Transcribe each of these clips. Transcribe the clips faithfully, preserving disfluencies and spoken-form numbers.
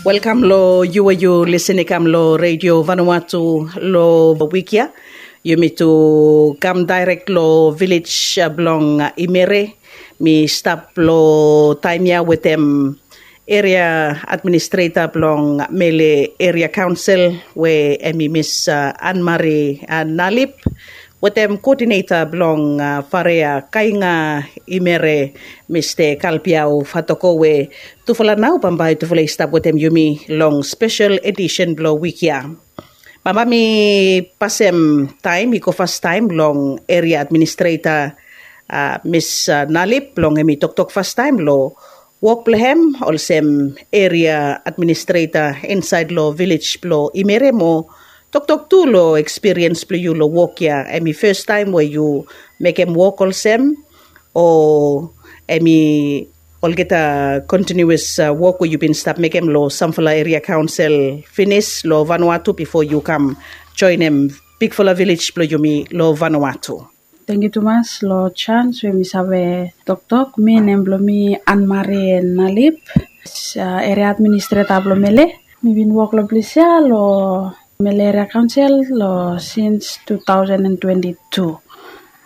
Welkam long yu we yu lisin i kam long Redio Vanuatu long wik ya. Yumi tu kam daerek long vilej blong Imere. Mi stap long taem ya wetem eria administreta blong Mele Eria Kaonsel we hem i Mis Anmari Nalip, wetem koodineta blong Farea Kainga Imere, Mista Kalbiau Fatoko, we tufala nao bambae tufala i stap wetem yumi long spesel edisen blong wik ya. Bambae mi pasem taem i go fastaem long eria administreta Mis Nalip blong hem i toktok fastaem long wok blong hem olsem eria administreta insaed long vilej blong Imere mo toktok tu long ekspiriens blong yu long wok ya. Hem i fastaem we yu mekem wok olsem, o hem i olgeta kontiniuas wok we yu bin stap mekem long samfala eria kaonsel finis long Vanuatu bifo yu kam joenem bigfala vilej blong yumi long Vanuatu? Tangkiu tumas long jans we mi save toktok. Mi, nem blong mi Anmari Nalip, eria administreta blong Mele. Mi bin wok long ples ya long Mele Eria Kaonsel long sins two thousand and twenty-two.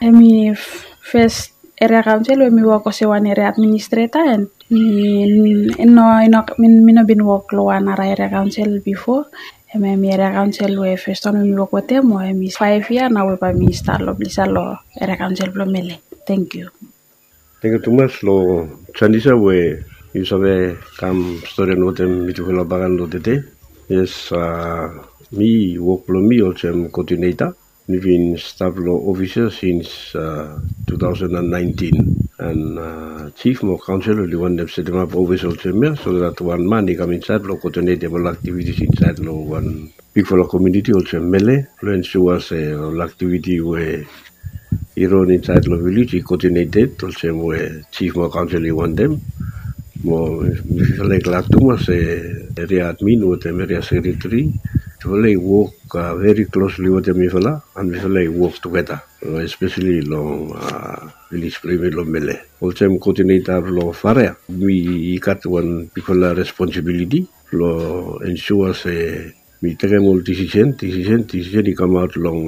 Hem i fes eria kaonsel we mi wok olsem wan eria administreta, and mi no, mi no bin wok long wan nara eria kaonsel bifo. Hem hem i eria kaonsel we fes taem we mi wok wetem, mo hem i faef yia nao we bae mi stap long ples ya long eria kaonsel blong Mele. Tangkiu. Tangkiu tumas long jans ya we yu save kam storian wetem mitufala baken long tede. Yes, mi, wok blong mi olsem koodineta. Mi bin stap long ofis ya sins two thousand and nineteen, and jif mo kaonsel oli wantem setemap ofis olsem ya so dat wan man i kam insaed blong koodinetem ol aktivitis insaed long wan bigfala komuniti olsem Mele, blong ensua se ol aktiviti we i ron insaed long vilej i koodineted olsem we jif mo kaonsel i wantem. Mo mifala i glad tumas se eria admin wetem eria sekreteri, mifala i wok veri klosli wetem mifala, and mifala i wok tugeta, espeseli long vilej blong yumi long Mele. Olsem koodineta blong Farea, mi i gat wan bigfala responsibiliti blong ensua se mi tekem ol disisen, disisen, disisen i kamaot long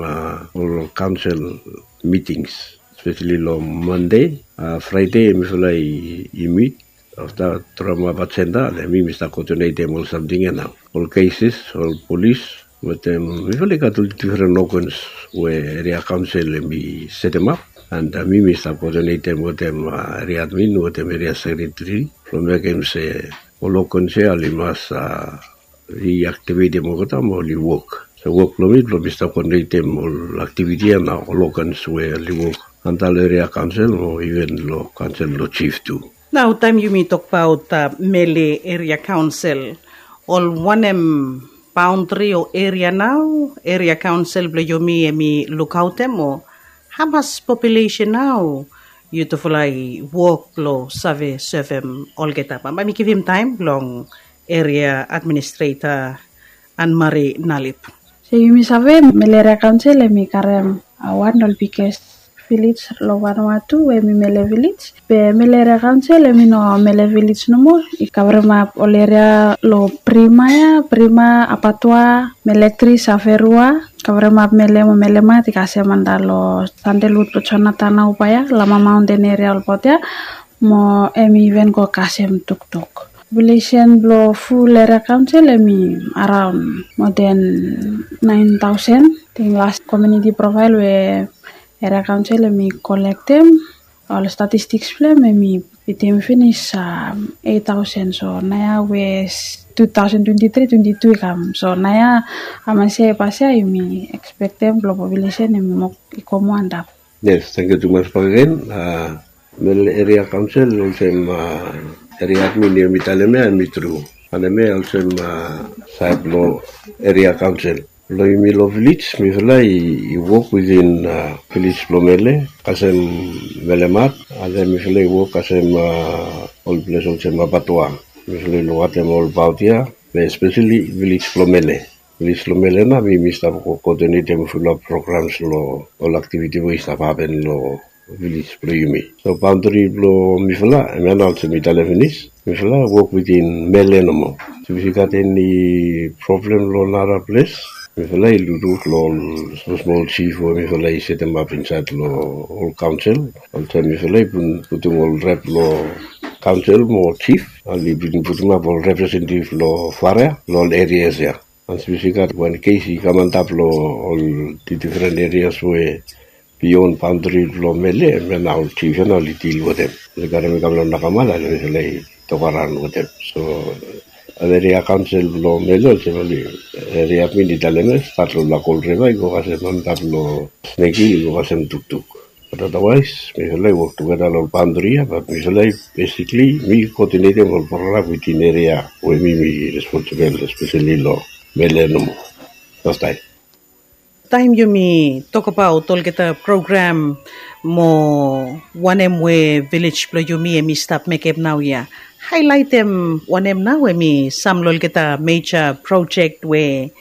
ol kaonsel mitings, espeseli long Mande, Fraede mifala i mit, afta drafap ajenda, and mi, mi stap koodinetem ol samting ya nao. Ol keses, ol polis, wetem mifala i gat ol difren ogans we eria kaonsel hem i setemap, and mi, mi stap koodinetem wetem eria admin wetem eria sekreteri blong mekem se ol ogans ya oli mas riaktivetem olgeta mo oli wok. So wok blong mi blong mi stap koodinetem ol aktiviti ya nao, ol ogans we oli wok anda long eria kaonsel mo iven long kaonsel blong jif tu. Nao taem yumi tokbaot Mele Eria Kaonsel, ol wanem baondri o eria nao eria kaonsel blong yumi hem i lukaotem, o hamas populesen nao yutufala i wok blong save sevem olgeta? Bambae mi givim taem blong eria administreta Anmari Nalip. So yumi save Mele Eria Kaonsel hem i karem wan ol biges vilej long Vanuatu we hem i Mele vilej. Be Mele Eria Kaonsel hem i no Mele vilej nomo. I kavremap ol eria long Prima ya, Prima, Apatua, Mele Kris, Averua, kavremap Mele mo Melemat, i kasem anda long Sandelwud blong Jonathan nao bae ya, Lama Maonten eria olbaot ya, mo hem i iven go kasem Tuktuk. Populesen blong ful eria kaonsel hem i araon moa den naen taosen. Ating las komuniti profael we eria kaonsel hem i kolektem, ol statistiks blong hem hem i fitim finis eit taosen. So naoia we tu taosen twenti tri twenti tu i kam, so naoia hamas ya i pas ya yumi ekspektem blong populesen hem i go moa antap. Yes, tangkiu tumas bakegen. Mele eria kaonsel olsem eria admin yumi talem ya hem i tru. Wanem ya olsem saed blong eria kaonsel blong yumi long vilej, mifala i wok witin vilej blong Mele kasem Melemat, and then mifala i wok kasem ol ples olsem Apatua. Mifala i lukaotem olbaot ya, be espeseli vilej blong Mele. Vilej blong Mele nao mi mi stap koodinetem fulap programs long ol aktiviti we i stap hapen long vilej blong yumi. So baondri blong mifala hemia nao olsem mi talem finis, mifala wok witin Mele nomo. Sipis i gat eni problem long nara ples, mifala i lukluk long ol smol smol jif we mifala i setemap insaed long ol kaonsel. Oltaem mifala i bin putum ol rep long kaonsel mo jif, oli bin putumap ol representetiv long faria long ol erias ya. Sipis i gat wan kes i kam antap long ol difren erias we bion baondri blong mele, hemia nao ol jif ya nao oli dil wetem. Oli karem i kam long nakamal, oli mifala i tok araon wetem. So ol eria kaonsel blong mele olsem oli, eria min i talem ya, stat long lakol riva i go kasem antap long sneki i go kasem tuktuk. Bat adawaes mifala i wok tugeta long ol baondri ya, bat mifala i besikli mi koodinetem ol program witin eria we mi mi responsibel espeseli long mele nomo. Fastaem. Taem yumi tokbaot olgeta program mo wanem we vilej blong yumi hem i stap mekem naoia, haelaetem wanem nao hem i sam long olgeta meja projek we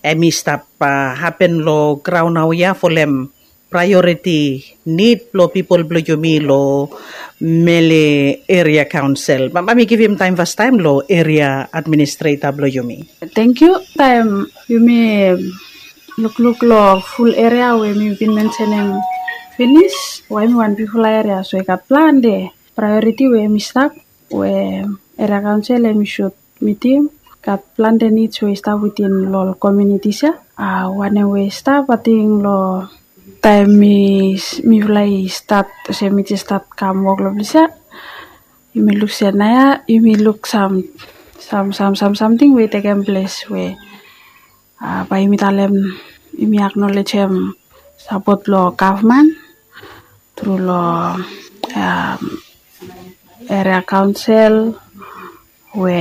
hem i stap hapen long graon naoia folem praeoriti nid blong pipol blong yumi long mele eria kaonsel? Bae mi givim taem fastaem long eria administreta blong yumi. Tangkiu. Taem yumi lukluk long ful eria we mi bin mensenem finis, we hem i wan bigfala eria, so i gat plante praeoriti we hem i stap, we eria kaonsel hem i sud mitim. Gat plante nids we i stap witin long ol komiunitis ya. Wanem we i stap, ating long taem mifala i stat olsem mi jes stat kam wok long ples ya, yumi luk se naoia yumi luk sam sam sam samting we i tekem ples we bae yumi talem, yumi aknolejem sapot blong gavman tru long eria kaonsel we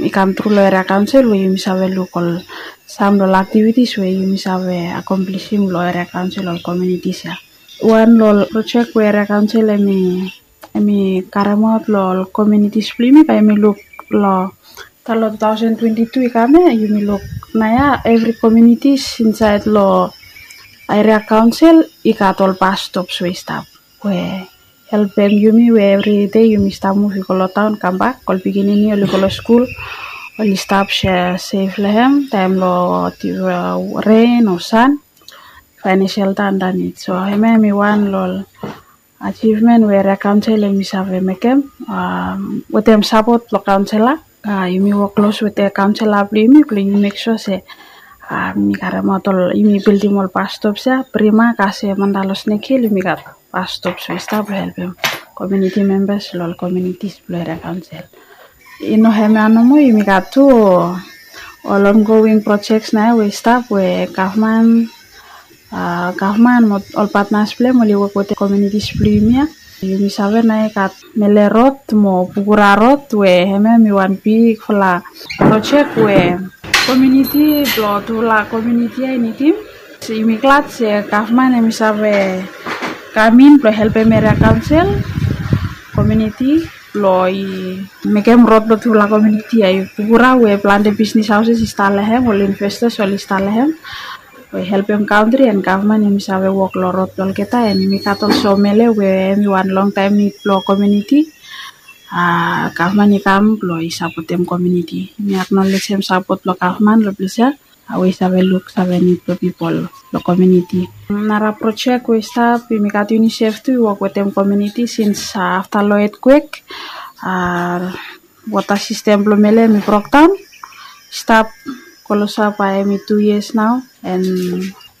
i kam tru long eria kaonsel we yumi save luk ol sam long ol aktivitis we yumi save akomplisim long eria kaonsel ol komiunitis ya. Wan long ol projek we eria kaonsel hem i hem i karemaot long ol komiunitis blong yumi, bae yumi luk long talo tu taosen twenti tu i kam ya, yumi luk naoia evri komiunitis insaed long eria kaonsel i gat ol bas stops we i stap, we helpem yumi we evri dei yumi stap muv i go long taon kambak, ol pikinini oli go long skul, oli stap sef long hem taem long ren o san, faenem selta andanit. So hemia hem i wan long ol ajivmen we eria kaonsel hem i save mekem wetem sapot blong kaonsela. Yumi wok klos wetem kaonsela blong yumi blong yumi mek sua se yumi karemaot ol, yumi bildim ol bas stops ya. Prima kasem antap long Snake Hill yumi gat bas stops we i stap blong helpem komiuniti membas long ol komiunitis blong eria kaonsel. I no hemia nomo, yumi gat tu ol ongoing projeks naoia we i stap we gavman, gavman mo ol patnas blong hem oli wok wetem komiunitis blong yumi ya. Yumi save naoia i gat Mele Rod mo Pukura Rod we hemia hem i wan bigfala projek we komiuniti blong tufala komiuniti ya i nidim. Yumi glad se gavman hem i save kam in blong helpem eria kaonsel, komiuniti blong i mekem rod blong tufala komiuniti ya i Pukura we plante bisnis haoses i stap long hem, ol investas oli stap long hem. We helpem kantri and gavman yumi save wok long rod blong olgeta, and yumi gat olsem mele we hem i wan longtaem nid blong komiuniti. Gavman i kam blong i sapotem komiuniti. Yumi aknolejem sapot blong gavman long ples ya we i save luk save nid blong pipol long komiuniti. Nara projek we i stap, yumi gat UNICEF tu i wok wetem komiuniti sins afta long etkwek, wota sistem blong mele hem i brokdaon. Stap klosap bae hem i tu yias nao, and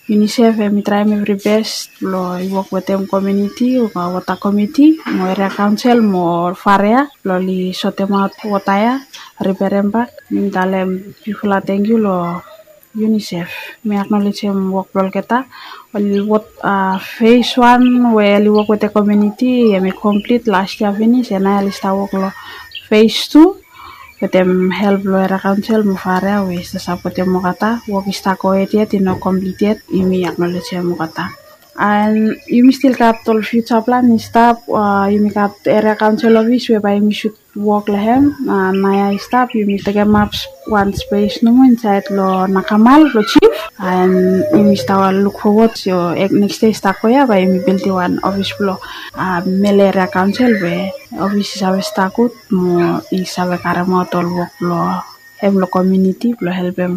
UNICEF hem i traem evri bes blong i wok wetem komiuniti, wota komiti mo eria kaonsel mo farea blong oli sotemaot wota ya, riperem bak. Mi talem bigfala tangkiu long UNICEF. Mi aknolejem wok blong olgeta. Ol wok, fes wan we oli wok wetem komiuniti hem i komplit las yia finis, and nao oli stap wok long fes tu wetem help blong eria kaonsel mo farea we i stap sapotem olgeta. Wok i stap gohed yet, i no komplit yet. Yumi aknolejem olgeta. And yumi stil gat ol fiuja plan i stap. Yumi gat eria kaonsel ofis we bae yumi sud wok long hem. Naoia i stap yumi tekemap wan spes nomo insaed long nakamal blong jif, and yumi stap luk fowod se nekis dei i stap go ya bae yumi bildim wan ofis blong mele eria kaonsel we ofis i save stap gud mo i save karemaot ol wok blong em long komuniti blong helpem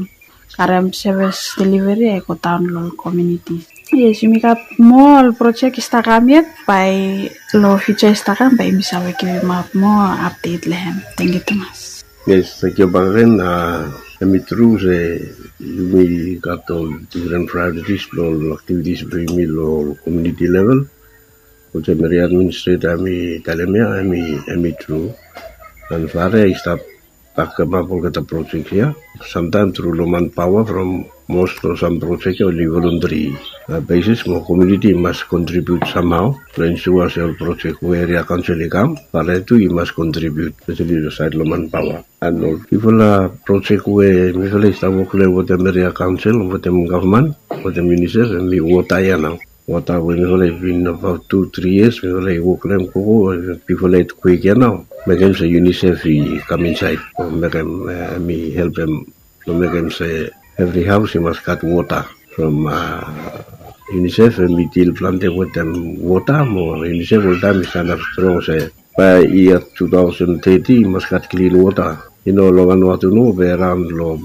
karem sevis deliveri ya i go daon long komuniti. Yes, yumi gat moa ol projek i stap kam yet, bae long fiuja i stap kam bae yumi save givim ap moa apdet long hem. Tangkiu tumas. Yes, tangkiu bak gen. Em i tru se yumi gat ol difren prioritis blong ol aktivitis blong yumi long komuniti level. Olsem area administreta em i talem ya, em i tru. An fare i stap bakemap olgeta projek ya. Samtaem tru long manpaoa from mos long sam projek ya oli voluntari besis mo komuniti i mas kontribiut samhao blong ensua se ol projek we eria kaonsel i kam, fare tu i mas kontribiut spesali long saed long manpaoa. An ol bigfala projek we mifala i stap wok long hem wetem eria kaonsel, wetem gavman, wetem UNICEF, em i wota ya nao. Wota we mifala i bin abaot tu tri yias mifala i wok long hem gogo, bigfala i kwik ya nao, mekem se UNICEF i kam insaed o mekem em i helpem long mekem se evri haos i mas gat wota. From UNICEF em i dil plante wetem wota mo UNICEF oltaem i stanap strong se bae yia tu taosen teti i mas gat klin wota. I no long Vanuatu nomo be raon long